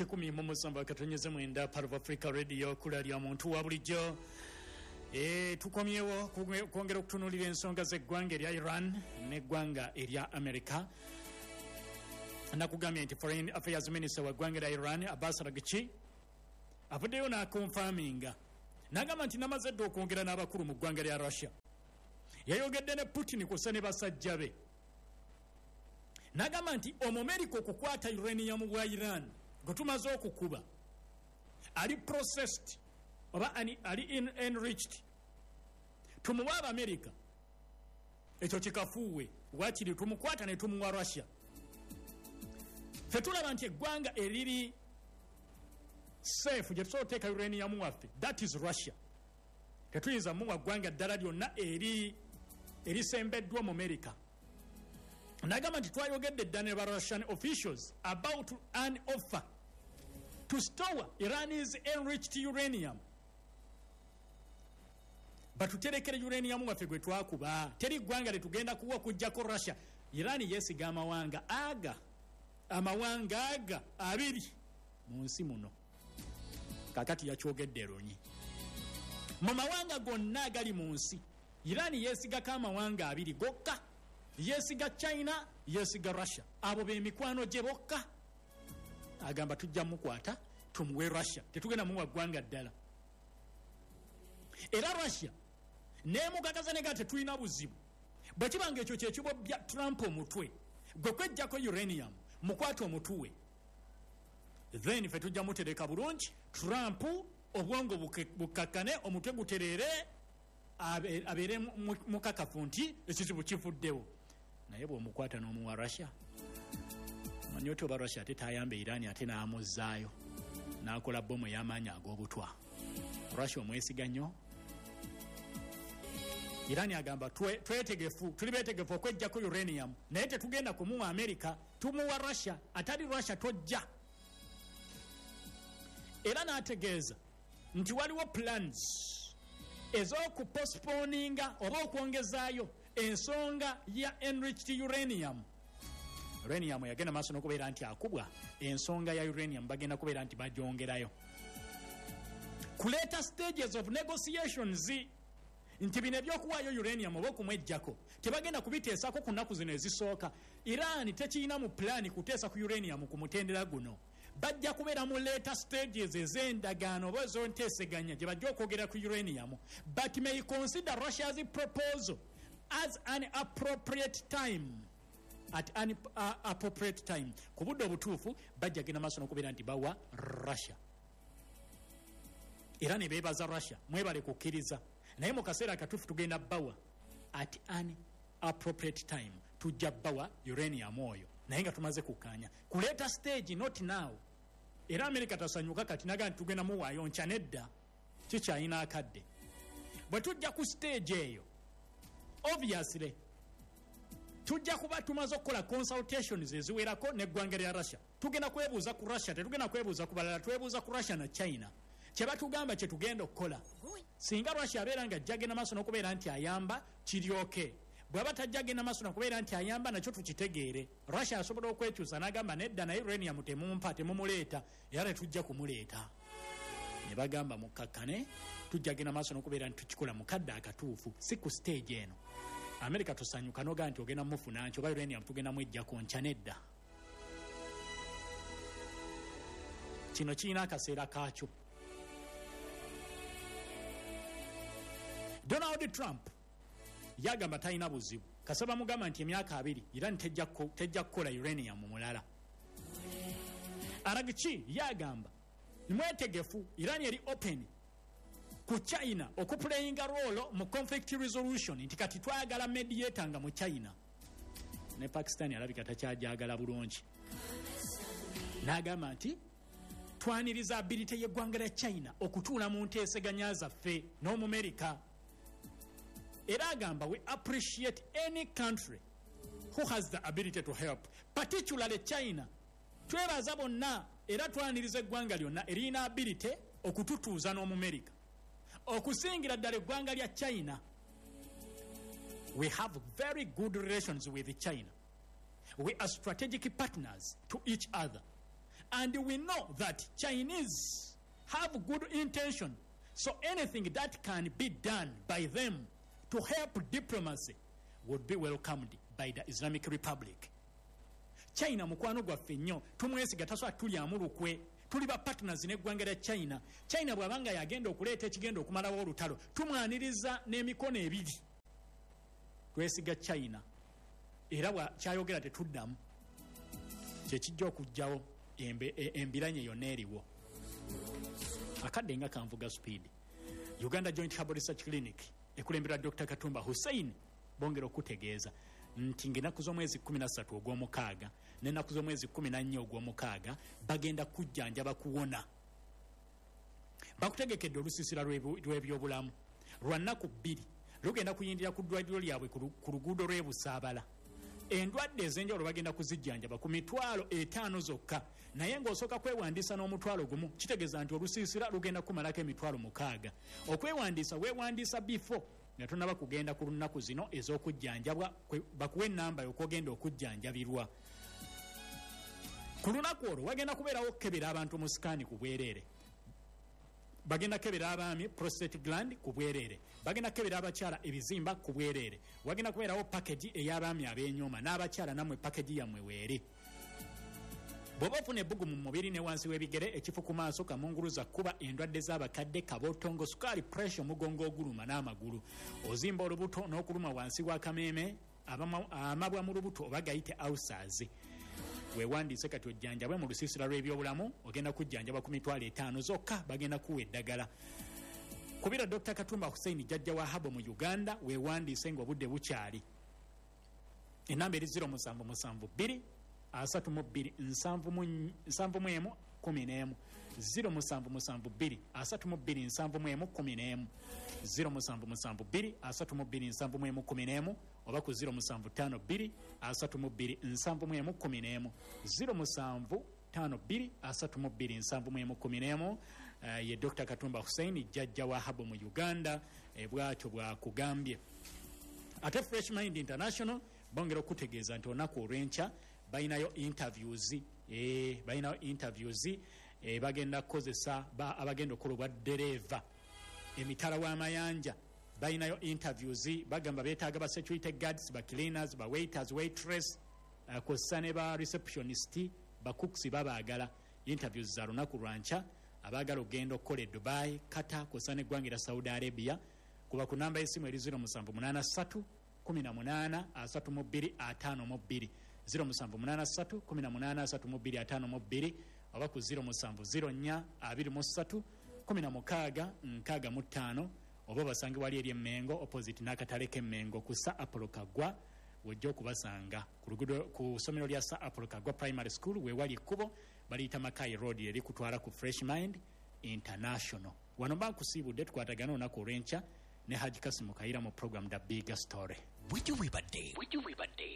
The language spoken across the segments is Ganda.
107.9 Part of Africa Radio, kula lya muntu wa bulijjo. Tukomyewo kwongera okutunuulira ensonga z'eggwanga erya Iran n'eggwanga erya America. Nakugambye nti Foreign Affairs Minister wa ggwanga erya Iran, Abbas Araghchi, avuddeyo n'akonfaminga n'agamba nti namaze dda okwongera n'abakulu mu ggwanga lya Russia. Yayogedde ne Putin kusa ne basajja be, n'agamba nti Omumerika okukwata uranium wa Iran gwe tumaze okukuba ali processed oba ali enriched, tumuwa Abamerika, ekyo kikafuuwe, wakiri tumukwata ne tumuwa Russia. Ffe tulaba nti eggwanga eriri safe gye tusobola oteeka uranium waffe, that is Russia. Tetuyinza muwa ggwanga ddala lyonna eri erisembeddwa mu America. Nagamba nti twayogedde dda ne ba Russian officials about an offer to store Iran's enriched uranium, batuterekere uranium waffe gwe twakuba. Teri ggwanga lyetugenda kuwa okuggyako Russia. Iran yeesiga amawanga aga abiri mu nsi muno. Kakati yakyogedde lunyi, mu mawanga gonna agali mu nsi, Iran yeesigako amawanga abiri gokka. Yeesiga China, yeesiga Russia. Abo bemikwano gye bokka. Agamba tujja mukwata tumuwe Russia, tetugenda muwa ggwanga ddala. Era Russia nemugagaza nega tetulina buzibu. Bwe kiba nga ekyo kyekibobya Trump omutwe gwe kwejjako uranium, mukwate omutuwe, then fe tujja mutereka bulungi Trump, obwongo bukakkane, omutwe gutereere, abeere mukakafu nti ekizibu kivuddewo. Naye bw'omukwata n'omuwa Russia, manyi oti oba Russia ate tayamba Iran, ate n'amuzzaayo n'akola bomu ey'amaanyi ag'obutwa. Russia omwesiga nnyo. Iran agamba twetegefu, tuli betegefu okwejjako uranium, naye tetugenda kumuwa America, tumuwa Russia. Atali Russia tojja. Era n'ategeeza nti waliwo plans ez'okupostponinga oba okwongezaayo ensonga ya enriched uranium. Uranium yagenda maaso n'okubeera nti akubwa. Ensonga ya uranium bagenda kubeera nti bagyongerayo ku later stages of negotiations, nti bino ebyokuwaayo uranium oba okumwejjako tebagenda kubiteesako ku nnaku zino ezisooka. Iran tekirina mu pulaani kuteesa ku uranium ku mutendera guno. Bajja kubeera mu later stages ez'endagaano oba ez'enteeseganya gye bajja okwogera ku uranium, but may consider Russia's proposal as an appropriate time, at an appropriate time. Ku budde obutuufu bajja genda maaso n'okubeera nti bawa Russia. Era ne beebaza Russia, mwebale kukkiriza, naye mu kaseera akatuufu tugenda bawa, at an appropriate time tujja bawa uranium oyo, naye nga tumaze kukkaanya ku later stage, not now. Era America tasanyuka kati naga nti tugenda muwaayo nkya. Nedda, kikyayina akadde. Bwe tujja ku stage eyo, obviously tujja kuba tumaze okukola consultations eziwerako neggwanga lya Russia. Tugenda kwebuuza ku Russia, tetugenda kwebuuza ku balala. Twebuuza ku Russia na China, kyebatugamba kyetugenda okukola. Singa Russia abeera nga ajja genda maaso n'okubeera nti ayamba, kiryoke. Bw'aba tajja genda maaso nakubeera nti ayamba, nakyo tukitegeere. Russia asobola okwekyusa n'agamba nedda, naye uranium temumpa, temumuleeta, era tetujja kumuleeta. Ne bagamba mukkakkane, tujja genda maaso n'okubeera nti tukikola mu kadde akatuufu, si ku stage eno. America tosanyuka nogaa nti ogenda mufuna nti oba uranium tugenda mwejjako nkya. Nedda, kino kirina akaseera kaakyo. Donald Trump yagamba talina buzibu kasaba mugamba nti emyaka 20 Iran tejja kukola uranium mulala. Araghchi yagamba mwetegefu, Iran eri open ku China okuplayinga role mu conflict resolution, nti kati twagala mediator nga mu China. Ne Pakistan alabika takyajagala bulungi, n'agamba nti twaniriza ability y'eggwanga lya China okutuula mu nteeseganya zaffe n'Omumerika. Era agamba we appreciate any country who has the ability to help, particularly China. Twebaza bonna era twaniriza eggwanga lyonna eriyina ability okututuuza n'Omumerika, okusingira ddala eggwanga lya China. We have very good relations with China. We are strategic partners to each other. And we know that Chinese have good intention, so anything that can be done by them to help diplomacy would be welcomed by the Islamic Republic. China mukwano gwaffe nnyo, tumwesiga, tasobola tulyamu lukwe, tuli ba partners n'eggwanga lya China. China bw'abanga yagenda okuleeta ekigenda okumalawo olutalo, tumwaniriza n'emikono ebiri. Twesiga China era kyayogera tetuddamu, kyekijja okuggyawo embiranye yonna eriwo. Akadde nga kanvuga speed. Uganda Joint Herbal Research Clinic ekulemberwa Dr Katumba Hussein bongera okutegeeza nti ng'ennaku z'omwezi 13 ogw'omukaaga n'ennaku z'omwezi 14 ogw'omukaaga bagenda kujjanjaba kuwona. Bakutegekedde olusiisira lw'ebyobulamu lwa nnaku 2, lugenda kuyindira ku ddwaliro lyabwe ku luguudo lw'e Busaabala. Endwadde ez'enjawulo bagenda kuzijjanjaba ku mitwalo 5 zokka, naye ng'osooka kwewandiisa n'omutwalo 1, kitegeeza nti olusiisira lugenda kumalako emitwalo 6. Okwewandiisa weewandiisa before nga tonnaba kugenda ku lunaku zino ez'okujjanjabwa, bakuwe ennamba y'okwogenda okujjanjabirwa. Ku lunaku olwo wagenda kubeerawo okukebera abantu mu sikaani ku bwereere. Bagenda kukebera abaami prostate gland ku bwereere, bagenda kukebera abakyala ebizimba ku bwereere, wagenda kubeerawo package ey'abaami ab'enyooma n'abakyala, nammwe package yammwe weeri. Bw'oba ofuna ebbugu mu mubiri ne wansi w'ebigere, ekifu ku maaso, kamunguluza, kkuba, endwadde z'abakadde, kabotongo, sukaali, pressure, omugongo oguluma n'amagulu, ozimba olubuto n'okuluma wansi w'akameeme, amabwa mu lubuto oba gayite ulcers, weewandiise kati ojjanjabwe mu lusiisira lw'ebyobulamu. Ogenda kujjanjabwa ku mitwalo 5 zokka, bagenda kuwa eddagala. Kubira Dr Katumba Hussein, jjajja wa Habo mu Uganda, weewandiise ng'obudde bukyali. Enamba eri 0772 32 71 11, 0772 32 71 11, 0772 32 71 11, oba ku 0752 32 71 11, 0752 32 71 11. Ye Dr Katumba Hussein, jjajja wa Habo mu Uganda, bw'atyo bw'akugambye. Ate Fresh Mind International bongera okutegeeza nti olunaku olw'enkya balinayo interviews, balinayo interviews, bagenda kukozesa abagenda okukola obwa ddereeva emitala w'amayanja. Balinayo interviews, bagamba beetaaga ba security guards, ba cleaners, ba waiters, waitress, kw'ossa ne ba receptionist, ba cooks babaagala. Interviews za lunaku lwankya. Abaagala okugenda okukola e Dubai, Qatar, kw'ossa n'eggwanga erya Saudi Arabia, kuba ku namba y'essimu eri 0783 18 32 52, 0783 18 32 52, oba ku 0704 23 16 65, oba basange wali eri Emmengo opposite n'akatale k'Emmengo ku Sir Apollo Kaggwa, wojja okubasanga ku luguudo ku ssomero lya Sir Apollo Kaggwa Primary School, weewali ekkubo baliyita Mackay Road erikutwala ku Fresh Mind International. Wano mba nkusiibudde, tukwatagane olunaku olw'enkya ne Haji Kasimu Kayira mu program The Big Story. Bwetyo bwebadde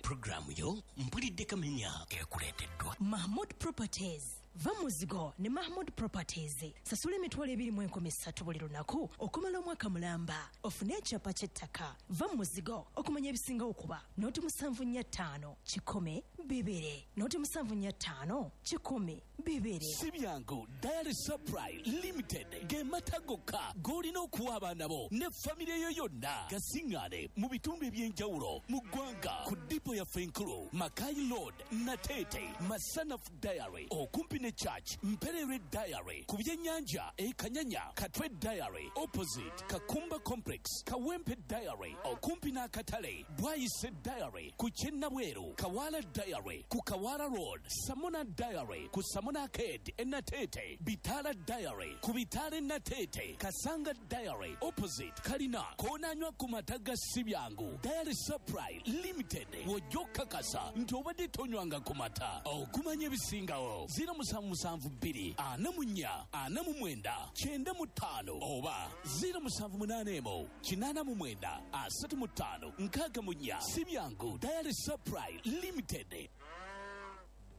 puroguramu yo Mpulidde Kamenya ekuleeteddwa Mahmood Properties. Va muzigo ne Mahmood Properties. Sasula emitwalo 2,300 buli lunaku okumala omwaka mulamba, ofune ekyapa ky'ettaka. Va muzigo okumanya ebisingawo kuba 0745 100 2 0745 100 2. Si byangu. Dairy Supply Limited ge mata gokka g'olina okuwa abaana bo ne famire yo yonna. Gasiŋŋaane mu bitundu eby'enjawulo mu ggwanga ku dipo yaffe enkulu, Mackay Road, Nateete, Masanaf Dairy okumpi ne Church, Mpererwe Dairy ku byennyanja e Kanyanya, Katwe Dairy opposite Kakumba Complex, Kawempe Dairy okumpi n'akatale, Bwayise Dairy ku Kyennabweru, Kawaala Dairy ku Kawaala Road, Samona Dairy ku Samona Arcade e Nateete, Bitaala Dairy ku Bitaala e Nateete, Kasanga Dairy opposite Kalina. Koonanywa ku mata ga Sibyangu Dairy Supply Limited, w'ojja okukakasa nti obadde tonywanga ku mata. Okumanya ebisingawo 0772 44 49 95 oba 0781 89 35 64. Sibyangu Dairy Supply Limited.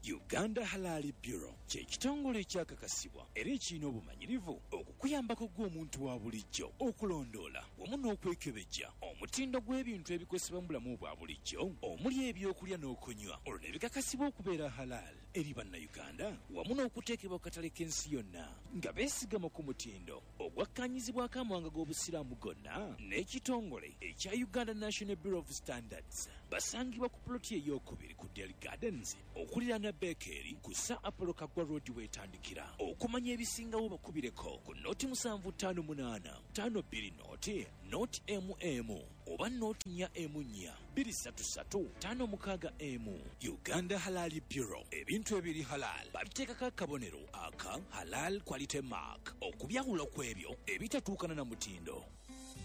Uganda Halal Bureau kye kitongole ekyakakasibwa era ekirina obumanyirivu okukola Okuyambako gw'omuntu wa bulijjo okulondoola wamu n'okwekebejja omutindo gw'ebintu ebikozesebwa mu bulamu bwa bulijjo omuli ebyokulya n'okunywa, olwo ne bikakasibwa okubeera halal eri Bannayuganda wamu n'okuteekebwa ku katale k'ensi yonna nga beesigama ku mutindo ogwakkaanyizibwako amawanga g'Obusiraamu gonna n'ekitongole ekya Uganda National Bureau of Standards. Basangibwa ku puloti ey'okubiri ku Del Gardens okuliraana Beekeri ku Sir Apollo Kaggwa Road weetandikira. Okumanya ebisingawo bakubireko ku 0758 52 0 0 MM oba 044 233 56 M. Uganda Halal Bureau, ebintu ebiri halal babiteekako akabonero aka Halal Quality Mark okubyawula ku ebyo ebitatuukana na mutindo.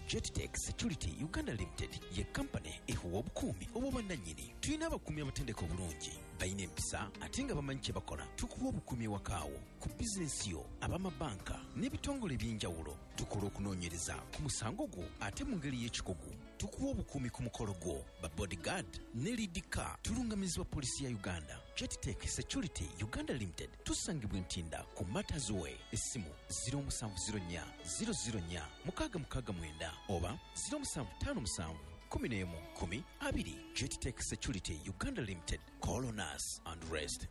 Jettech Security Uganda Limited ye kampani ekuwa obukuumi obw'obwannannyini. Tulina abakuumi abatendeka obulungi, balina empisa ate nga bamanyi kye bakola. Tukuwa obukuumi ewakaawo, ku bizinensi yo, ab'amabanka n'ebitongole eby'enjawulo. Tukola okunoonyereza ku musango gwo ate mu ngeri y'ekikugu. Tukuwa obukuumi ku mukolo gwo, ba bodyguard ne lead car. Tulungamizibwa poliisi ya Uganda. Jettech Security Uganda Limited tusangibwa Ntinda ku Matters Way. Essimu 0704 004 669 oba 0757 11 10 20. Jettech Security Uganda Limited. Call on us and rest.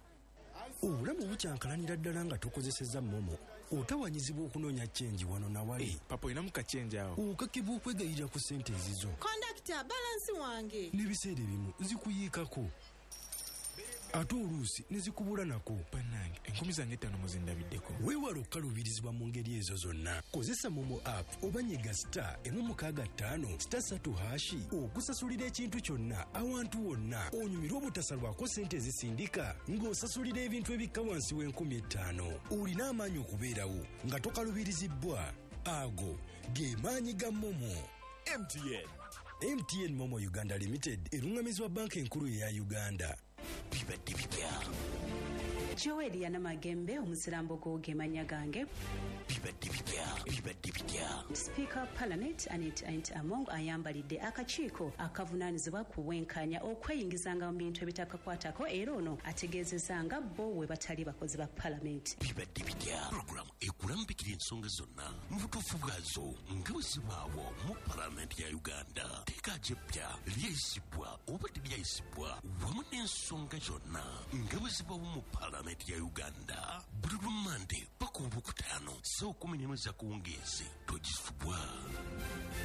Obulamu bukyankalanira ddala nga tokozesezza MoMo. Otawanyizibwa okunoonya change wano nawali. Papa, olinamu ka change awo? Okakibwa okwegayirira ku ssente ezizo. Kondakita, balance wange. N'ebiseera ebimu zikuyiikako, ate oluusi ne zikubula nako. Bannange, 5000 muzindabiddeko. Weewala okukaluubirizibwa mu ngeri ezo zonna. Kozesa MoMo app oba nyiga *165*3# okusasulira ekintu kyonna awantu wonna, onyumirwe obutasalwako ssente ezisindika ng'osasulira ebintu ebikka wansi w'5,000. Olina amaanyi okubeerawo nga tokalubirizibbwa. Ago ge maanyi ga MoMo. MTN. MTN MoMo Uganda Limited erungamizibwa Banka Enkulu eya Uganda. Bibadde bitya? Joel Yanamagembe omuzirambogo ge mannya gange. Bibadde bitya? Bibadde bitya? Sipiika wa Parliament Annet Anita Among ayambalidde akakiiko akavunaanyizibwa ku bwenkanya okweyingizanga mu bintu ebitakakwatako, era ono ategeezezza nga bo we batali bakozi ba Parliament. Bibadde bitya? Puroguramu ekulambikira ensonga zonna mu butuufu bwazo nga bwe zibaawo mu Palamenti ya Uganda. Teeka gyeppya lyayisibwa oba teryayisibwa wamu n'ensonga zonna nga bwe zibaawo mu Palamenti ya Uganda buli lwa Mande paka Olwokutaano ssaawa 11 z'akawungeezi. Togisubwa.